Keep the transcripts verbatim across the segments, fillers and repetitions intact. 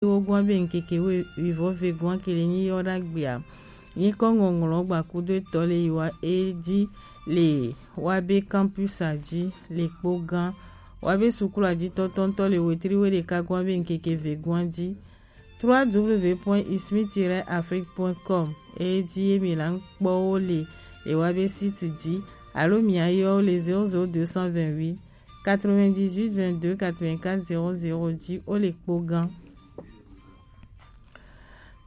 wogoa be ŋkeke wivɔ vegoa kele nyi yɔ ɖagbe a. Nyikɔ ŋɔŋlɔ gbakudo etɔ le yi wa e ji le wa be campus a ji le kpo gã wa be sukulu a ji tɔtɔntɔ le wetri we ɖeka goa be ŋkeke vegoa ji. Trois w point ismi tiret afrique point com e ji ye mi la ŋkpɔ wo le le wa be site ji alo mi ayɔ wo le zéro zéro deux cent vingt-huit quatre-vingt-dix-huit vingt-deux quatre-vingt-quatre zéro zéro ji wo le kpo gã.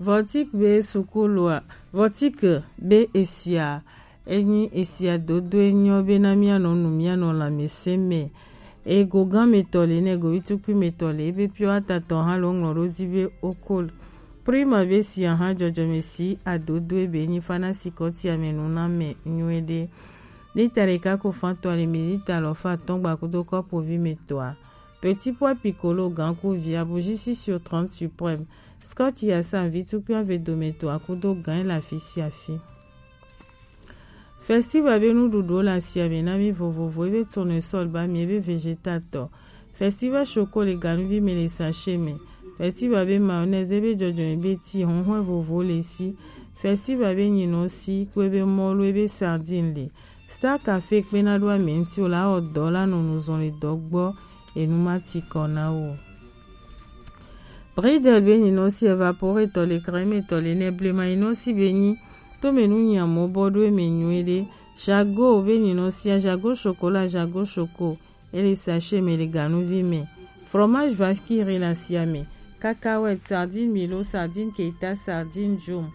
Vɔtik be sukulu a, Vɔtik be esia, enyi esia dodo enyɔ be na mianɔ nu mianɔ lãmesẽ me. Ego gã me tɔ le ne ego vitukui me tɔ le ebe piɔ atatɔ hã lo ŋlɔ ɖo dzi be okol. Prima be sia hã jɔjɔme si adodo ebe nyi fana sikɔti ame nu na me nyuie ɖe. Lita ɖeka ko fan tɔ le mi lita lɔ fa atɔ̃ gbakudo kɔpo vi me tɔa. Petit pois piccolo gã ku via bougie six sur trente suprême. Scotch ya sa vi tukui ave dome tɔa kudo gã la fi sia fi. Festival be nuɖuɖuwo le asia me na mi vovovo ebe tournesol ba mi ebe vegetatɔ. Festival choco le ganuvi me le sachet me. Festival be mayonnaise ebe jɔjɔme be ti honhɔe vovo le si. Festival be nyinɔ si kpe be mɔlu ebe sardine le. Star Cafe kpe na ɖo ame ŋuti o la wɔ dɔ la nɔ nu zɔn le dɔ gbɔ enu ma ti kɔ na wo. Bridel be nyinɔ si evaporetɔ le crème tɔ le ne blema nyinɔ si be nyi tome nu nyamɔ bɔ ɖo eme nyuie ɖe. Jago be nyinɔ sia jago chocolat jago choco ele sachet me le ganuvi me. Fromage vache qui rit la sia me. Cacahuète, sardine milo, sardine keita, sardine jom.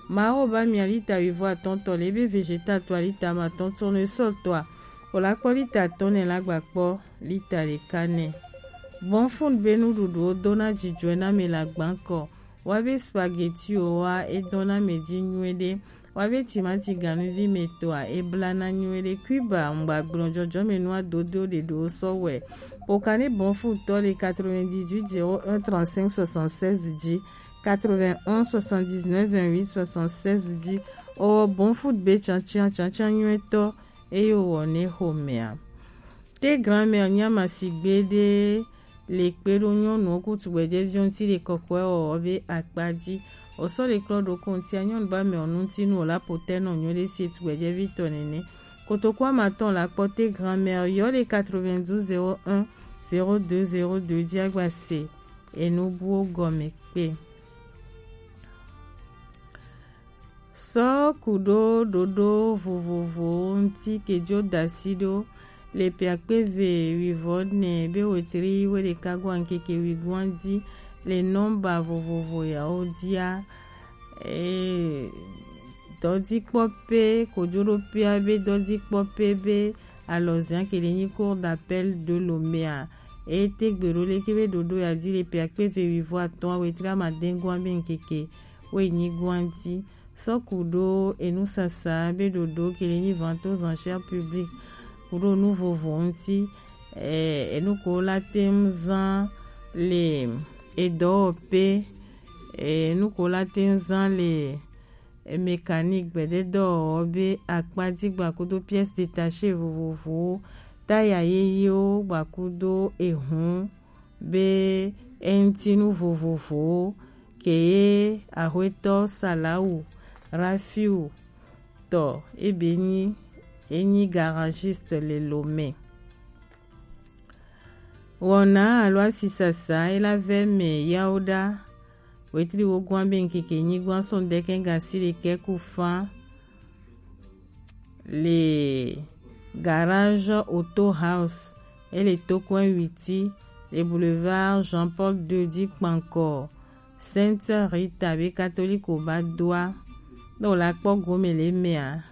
Mawo ba mia lita wivɔ atɔ̃ tɔ le ebe vegetal tɔa lita ma tɔ̃ tournesol tɔa o la kpɔ lita atɔ̃ ne la gba kpɔ lita ɖeka nɛ. Bɔnfun be nuɖuɖuwo dona dzidzɔe na mi le agbankɔ. Wa be spaghetti o wa edɔna me dzi nyuie ɖe. Wa be timati ganuvi me tɔa ebla na nyuie ɖe. Cuba ŋgba gblɔ jɔjɔme nua dodo ɖe ɖo sɔ wɛ. Pokane bɔnfun tɔ le quatre-vingt-dix-huit zéro un trente-cinq soixante-seize dzi. Quatre-vingt-onze soixante-dix-neuf vingt-huit soixante-seize dzi. Owɔ bɔnfun be tsantsia tsantsia nyuie tɔ eye wowɔ ne xomea. Te grand-mère nyama sigbe ɖe le kpe ɖo nyɔnuwo ku tugbɛjɛviwo ŋuti le kɔkɔe wɔwɔ be akpa dzi. Wosɔ le klɔ ɖo ko ŋutia nyɔnu ba mɛ ŋuti nu wòla potɛ nɔ nyuie ɖe sie tugbɛjɛvi tɔ nɛnɛ. Kotoku amatɔn la kpɔ te grand-mère yɔ le quatre-vingt-douze zéro un zéro deux zéro deux dzi agba se enu buwo gɔme kpe. Sɔ ku ɖo ɖoɖo vovovowo ŋuti ke dzo da asi ɖo le piakpe ve wivɔ ne be wetri we ɖeka goa ŋkeke wigoa dzi le nɔmba vovovo yawo dzia. Ee, dɔdzikpɔpe kojoɖoƒea be dɔdzikpɔpe be alɔzia ke le nyi cour d'appel de Lomea. Eye tegbe ɖo leke be ɖoɖo ya dzi le piakpe ve wivɔ atɔ̃ wetri amadɛn goa be ŋkeke woenyi goa ŋuti. Sɔ ku ɖo enusasa be ɖoɖo ke le nyi vente aux enchères publiques ku ɖo nu vovo ŋuti. Eh, enu ko la te ŋu zã le edɔwɔƒe, eh, enu ko la te ŋu zã le mécanique gbededɔwɔwɔ be akpadzigba kudo pièces détachées vovovowo, taya yeyewo gbakudo ehun be eŋutinu vovovowo keye axwetɔ Salawu Rafiu tɔ ebe nyi enyi garagiste le Lomé. Wɔna alo asisasa ela vɛ mɛ yawo ɖa wetri wogoa be ŋkeke nyigba sɔn dɛkɛ gasi ɖekɛ ku fa le garage Auto House ele tokɔe witi le boulevard Jean Paul deux dzi kpankɔ Sainte Rita be katoliko ba doa. Ne wòle akpɔ gome le emea,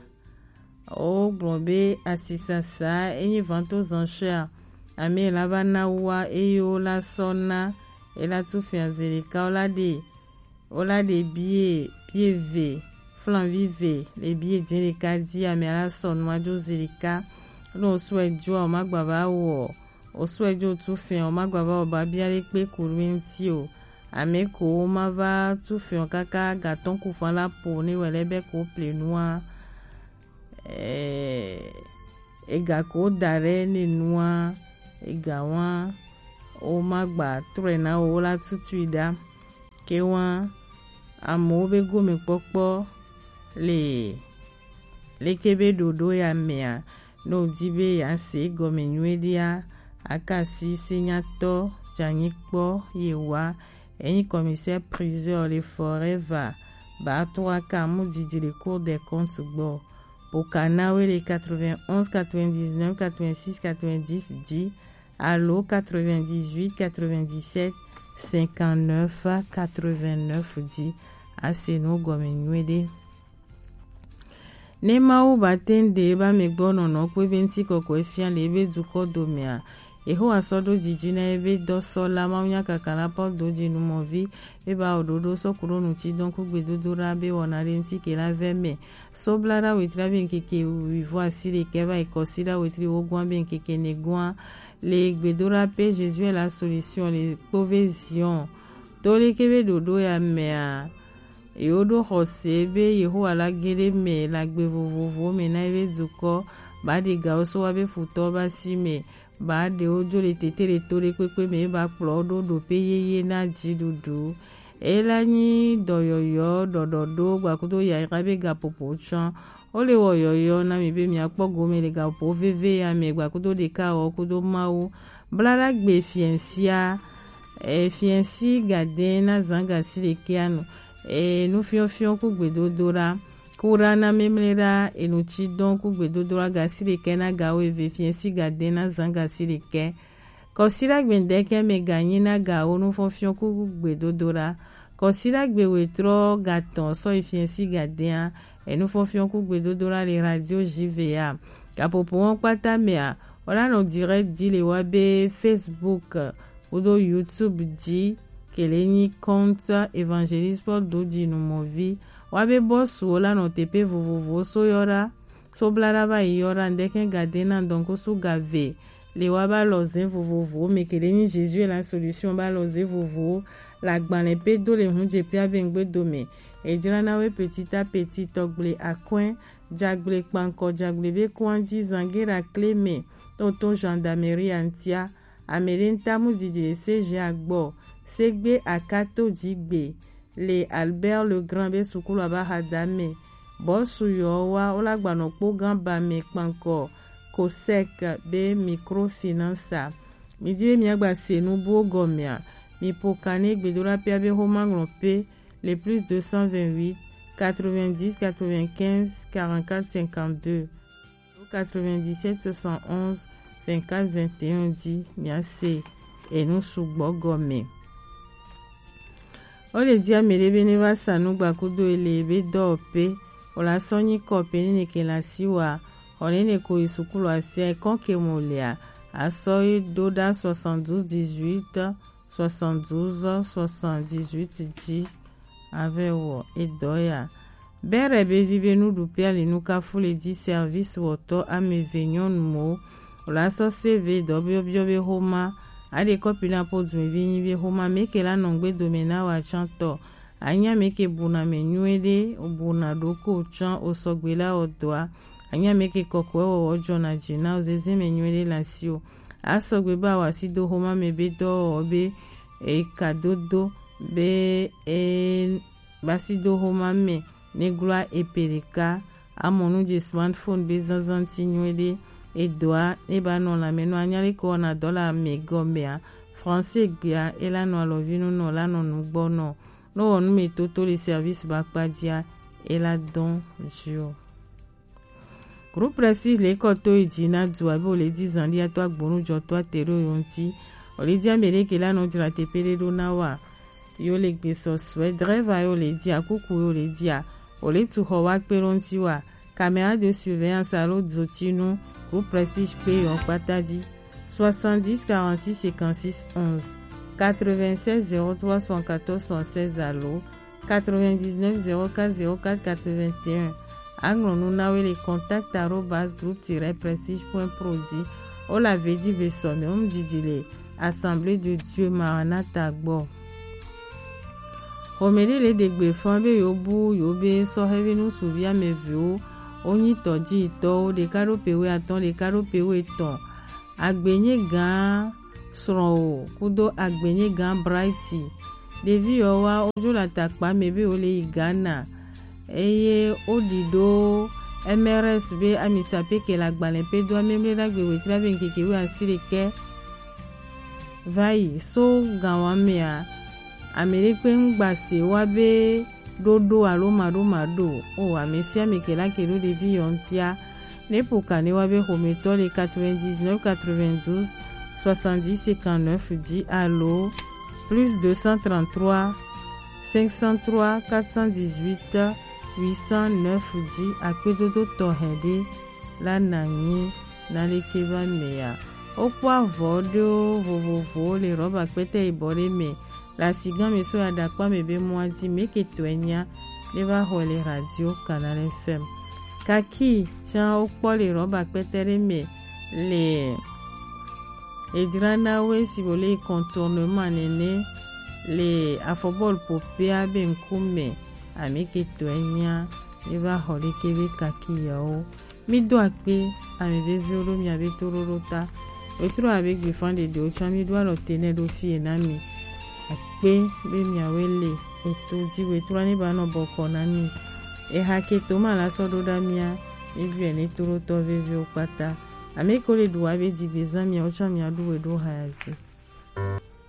wogblɔ be asisasa enyi vente aux enchères ame la va na wua eye wola sɔ na ela tu fia zelika wola ɖe wola ɖe bie bie ve flanvi ve le bie dze ɖeka dzi ame la sɔ nua dzo zelika. Ne wosɔe dzoa womagba va wɔ wosɔe dzo tu fia womagba va wɔ babia ɖe kpe ku ɖe ŋuti o. Ame ko woma va tu fia kaka gatɔn ku fan la po ne wɔ lɛ be ko ple nua. Eh, ega ko da ɖe ne nua ega wa womagba trɔe na wo la tutui ɖa. Ewa, amewo be gomekpɔkpɔ le leke be ɖoɖo ya mea, ne wòdi be yease egɔme nyuiɖea, akasi senyatɔ dzanyikpɔ yewoa, enyi commissaire priseur le Forever, ba trois K mu didi le Cour des comptes gbɔ. Pokanawe le quatre-vingt-onze, quatre-vingt-dix-neuf, quatre-vingt-six, quatre-vingt-dix dzi, alo quatre-vingt-dix-huit, quatre-vingt-dix-sept, cinquante-neuf, quatre-vingt-neuf dzi. Ase nu gɔme nyuiɖe. Ne Mawu ba te ŋu ɖe ebe amegbɔ nɔnɔ kpɔ ebe ŋuti kɔkɔe fia le ebe dukɔ domea, Yehowa sɔ ɖo didi na ebe dɔsɔla mawunyakaka la Paul Dodinumɔvi, ebe awo ɖoɖo sɔ ku ɖo nutidɔn ku gbedodoɖa be wɔna ɖe ŋuti ke la vɛ mɛ. So blaɖa wetri be ŋkeke wuivo asi ɖekɛ va yi kɔsiɖa wetri wogoa be ŋkeke nɛgoa le gbedoɖa pe Jésus est la solution le kpove Zion. To leke be ɖoɖo ya mea, yewo ɖo xɔse be Yehowa la ge ɖe mɛ le agbe vovovowo me na ebe dukɔ, ba ɖe gawo so wa be futɔwo ba si mɛ, ba ɖewo dzo le tete ɖe to ɖe kpekpe me, ba kplɔ wo ɖo ɖope yeye na dziɖuɖu. Ela nyi dɔyɔyɔ ɖɔɖɔɖo gbakudo yayra be gaƒoƒo tsɔ. Wole wɔ yɔyɔ na mi be miakpɔ gome le gaƒoƒo veve ya me gbakudo ɖeka wɔ kudo Mawu. Blaɖagbe fiɛsia, e, fiɛsi gadɛ na zan gasi ɖekɛ anu, e, nufiɔfiɔ ku gbedodoɖa, kuɖa na memleɖa, enutidɔn ku gbedodoɖa gasi ɖekɛ na gawo eve fiɛsi gadɛ na zan gasi ɖekɛ. Kɔsiɖagbe ŋdɛkɛ mɛ ganyi na gawo nufɔnfiɔn ku gbedodoɖa. Kɔsiɖagbe wetrɔ gatɔn sɔ yi fiɛsi gadɛa, enufɔnfiɔn ku gbedodoɖa le radio J V A. Gaƒoƒo wɔn kpata mɛa, wala nɔ direct di le wa be Facebook kudo YouTube dzi, kele nyi compte Évangéliste Paul Dodinumɔvi. Wa be bɔsu wala nɔ teƒe vovovowo so yɔ ɖa. So blaɖa va yi yɔ ɖa ŋdɛkɛ gadɛ na ŋdɔnkusu gave le wa ba lɔze vovovowo me kele nyi Jésus est la solution ba lɔze vovowo le agbalẽ pe do le hun je pia ve ŋgbe dome. Ejra na we petit à petit tɔgble akɔe, jagble kpankɔ jagble be kɔn dzi zangera kle me, toto gendarmerie antia, ame ɖe ŋta mu didi le C G A gbɔ, segbe akato dzi gbe, le Albert Legrand be sukulu aba xadame. Bɔsu yɔ wa wola gbanɔ kpo gan ba me kpankɔ Cosec be microfinance a. Mi di be mi agba se nu buwo gɔmea, mi po kane gbedoɖa pia be xoma ŋlɔ pe le plus deux cent vingt-huit, quatre-vingt-dix, quatre-vingt-quinze, quarante-quatre, cinquante-deux. Quatre-vingt-dix-sept soixante-onze vingt-quatre vingt et un di miase enu sugbɔ gɔme. O le di ame ɖe be ne va sa nu gbakudo ele be dɔwɔƒe, o la sɔ nyi kɔ pe ne ne ke la si wa, xɔ ne ne ko yi sukulu asia ekɔ ke mo lea, asɔ yi ɖo ɖa soixante-douze dix-huit, soixante-douze soixante-dix-huit dzi. Ave wɔ edɔ ya. Bere be vi be nuɖuƒe ali nukafu le di service wɔtɔ ame eve nyɔnuwo. Wòle asɔ save dɔ biɔbiɔ be xoma. Aɖe kɔpi na po du vi nyi be xoma meke la nɔ ŋgbe dome na wa tsã tɔ. Anya meke buna me nyuie ɖe, buna ɖoko tsã o sɔgbe la wɔ dɔa. Anya meke kɔkɔe wɔwɔ dzɔna dzi na o zeze me nyuie ɖe le asi o. Asɔgbe be awɔ asi do xoma me be dɔwɔwɔ be eka dodo be e basi do xoma me ne gloa epe ɖeka amɔ nu dze smartphone be zazã ti nyuie ɖe edoa ne ba nɔ lãme nɔ anya leke wɔna dɔ le ame gɔmea français gbea ela nɔ alɔvi nu nɔ la nɔ nugbɔ nɔ ne wɔ nu me toto le service ba kpa dzia ela dɔn dzi o. Groupe Prestige le kɔ to yi dzi na du abe wòle di zan ɖi ato agbonu jɔ to ate ɖo yo ŋuti. Wòle di ame ɖe ke la nɔ dzra teƒe ɖe ɖo na wa. Yo le gbe sɔsɔe, driver yo le di akuku yo le dia. Wòle tu xɔ wa kpe ɖo ŋuti wa. Caméra de surveillance alo dzotinu Groupe Prestige kpe yo kpata dzi. Soixante-dix quarante-six cinquante-six onze, quatre-vingt-seize zéro trois soixante-quatorze soixante-seize alo quatre-vingt-dix-neuf zéro quatre zéro quatre quatre-vingt-un. Aŋlɔ nu na wo le contact arobase groupe tiret prestige point pro dzi. Wo le ave di ve sɔ me wo ŋdidi le Assemblée de Dieu Maranatha gbɔ. Xɔme ɖe le ɖe gbe fã be yewo bu yewo be sɔhɛvi ŋutsuvi ame evewo wonyi tɔdziyitɔwo, ɖeka ɖo pe wuiatɔ̃, ɖeka ɖo pe wuietɔ̃. Agbenye gã srɔ̃wò kudo Agbenye gã Brighty Ɖevi yawo wa wodzo le atakpa me be wole yi Ghana eye woɖi ɖo M R S be ami sapekela agbalẽ pe do amemle ɖagbe wetri abe ŋkeke wuiasiɖekɛ va yi so gawa mea, ame ɖekpe ŋgba se wa be ɖoɖo alo maɖomaɖo o. Ame sia ame ke la ke ɖo ɖevi yawo ŋutia, ne ƒo ka ne wa be xometɔ le quatre-vingt-dix-neuf quatre-vingt-douze soixante-dix cinquante-neuf dix alo plus deux cent trente-trois cinq cent trois quatre cent dix-huit huit cent neuf dix. Akpedodo tɔxɛ ɖe la na nyi na leke va mea. Wokpɔ avɔ ɖewo vovovowo le rɔba kpɛtɛ yibɔ ɖe me le asigã me so ya ɖakpa me be mɔa dzi meke tɔe nya ne va xɔe le radio Canal F M. Kaki tsã wokpɔ le rɔba kpɛtɛ ɖe me le edzra na wo esi wòle contournement nene le afɔbɔlu ƒoƒea be ŋkume. Ame ke tɔe nya ne va xɔ leke be kaki yawo. Mi do akpe ame veviwo ɖo mia be toɖoɖo ta. Wetro abe gbefan ɖeɖewo tsã mi ɖo alɔ te nɛ ɖo fie na mi. Akpe be miawoe le eto dzi wetro ne ba nɔ bɔkɔ na mi. Eha ke to ma la sɔ ɖo ɖa mia mi biɛ ne toɖotɔ veviwo kpata. Ame ko le ɖu wa be dzigbezã miawo tsã mia ɖu we ɖo haya dzi.